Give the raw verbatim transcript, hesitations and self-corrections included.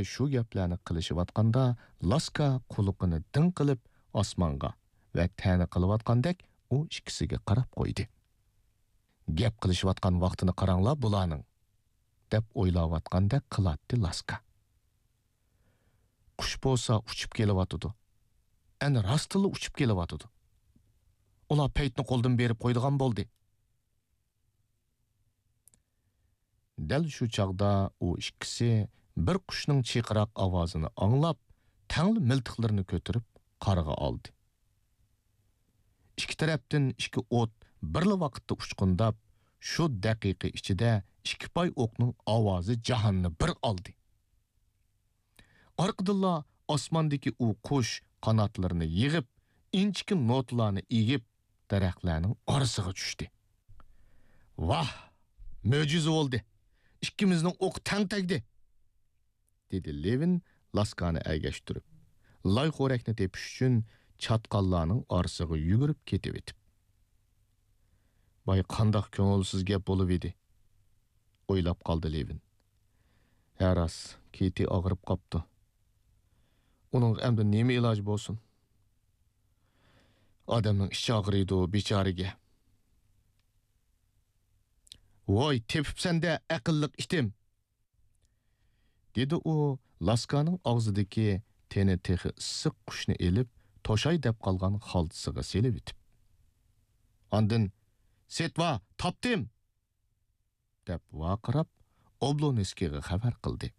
شۇ گەپلەرنى قىلىشىۋاتقاندا، لاسكا قۇلىقىنى دىڭ قىلىپ ئاسمانغا ۋە تەنە قىلىۋاتقاندەك ئۇ ئىككىسىگە قاراپ قويدى. «گەپ قىلىشىۋاتقان ۋاقتىنى قاراڭلار بۇلارنىڭ» دەپ ئويلاۋاتقاندەك قىلاتتى لاسكا. «قۇش بولسا ئۇچۇپ كېلىۋاتىدۇ. ئەنە راستتىنلا ئۇچۇپ كېلىۋاتىدۇ. ئۇلار پەيتنى قولدىن بېرىپ قويىدىغان بولدى.» دەل شۇ چاغدا ئۇ ئىككىسى بىر قۇشنىڭ چىرقىراق ئاۋازىنى ئاڭلاپ، تەڭلا مىلتىقلىرىنى كۆتۈرۈپ قارىغا ئالدى. ئىككى تەرەپتىن ئىككى ئوت بىرلا ۋاقىتتا ئۇچقۇنداپ، شۇ دەقىقە ئىچىدە ئىككى پاي ئوقنىڭ ئاۋازى جاھاننى بىر ئالدى. ئارقىدىنلا ئاسماندىكى ئۇ قۇش قاناتلىرىنى يىغىپ، ئىنچىكە نوتىلارنى ئېگىپ، دەرەخلەرنىڭ ئارىسىغا چۈشتى. «ۋاھ، مۆجىزە بولدى! ئىككىمىزنىڭ ئوقى تەڭ تەگدى!» دېدى لېۋىن لاسكانى ئەگەشتۈرۈپ، لاي خورەكنى تېپىش ئۈچۈن چاتقاللارنىڭ ئارىسىغا يۈگۈرۈپ كېتىۋېتىپ. «ۋاي، قانداق كۆڭۈلسىز گەپ بولۇۋىدى!» ئويلاپ قالدى لېۋىن. «ھە راست، كېتى ئاغرىپ قاپتۇ. ئۇنىڭغا ئەمدى نېمە ئىلاج بولسۇن؟ ئادەمنىڭ ئىچى ئاغرىيدۇ، بىچارىگە.» «ۋوي، تېپىپسەن-دە، ئەقىللىق ئىتىم!» دېدى ئۇ لاسكانىڭ ئاغزىدىكى تېنى تېخى ئىسسىق قۇشنى ئېلىپ، توشاي دەپ قالغان خالتىسىغا سېلىۋېتىپ. ئاندىن، «سېتۋا، تاپتىم!» دەپ ۋارقىراپ، ئوبلونسكىيغا خەۋەر قىلدى.